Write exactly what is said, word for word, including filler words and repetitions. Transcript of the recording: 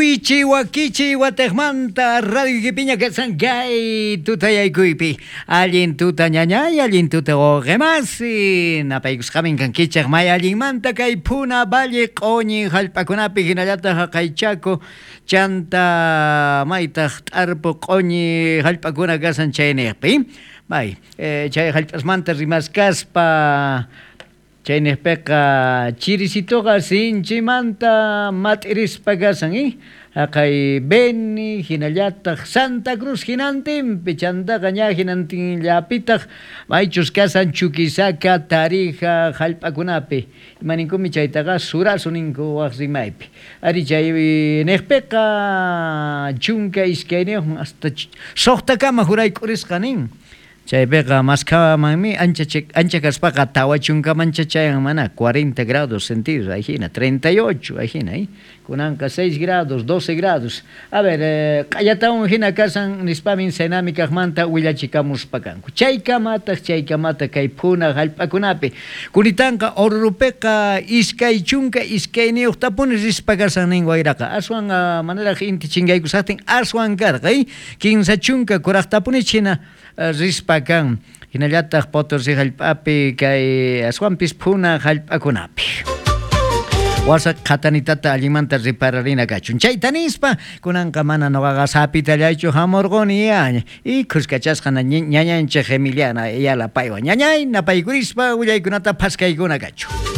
Kuychi wakichi watejmanta radio kipiña kasan kay tutayaykuypi allin tuta ñañay allin tuta wawqimasi napaykusqamin kankichej may allinmanta kay Puna Valle q'uñi hallp'akunapi hinallataq haqay Chaco chanta maytaq t'arpu q'uñi hallp'akuna kasan chayniqpi bay eh, chay hallp'asmanta rimaskaspa chayniqpiqa chirisituqa sinchimanta mat'irispa kasan eh? Haqay Beni hinallataq Santa Cruz hinantinpi chantaqa ña hinantinllapitaq maychus kasan Chuquisaca Tarija hallp'akunapi imaninkumi chaytaqa surasu ninku waq rimaypi ari chay niqpiqa chunka iskayniyuq hasta suqtakama jurayk'urisqa nin chaypiqa maskhamanmi ancha ancha kaspaqa tawa chunkamancha chayan mana cuarenta grados centígrados ahí treinta y ocho ahí eh? Kunanqa seis grados doce grados a ver eh, q'allatawan hina kasan nispamin Senami kaqmanta willachikamuspa kanku chaykamataq chaykamataq kay Puna hallp'akunapi kunitanqa Orurupiqa iskay chunka iskayniyuqtapuni rispa kasan nin wayraqa aswan uh, manaraq inti chinkaykusaqtin aswan karqa eh? Kinsa chunka kuraqtapuni china uh, rispa kan hinallataq Potosí hallp'api kay aswanpis Puna hallp'akunapi wasa qhatanitata allinmanta ripararina kachun chayta nispa kunanqa mana nuqaqa sapitallaychu hamurquni ya y khuskachasqa ñañanchik Emiliana Ayala paywan ñañay napaykurispa willaykunata phaskaykuna kachun.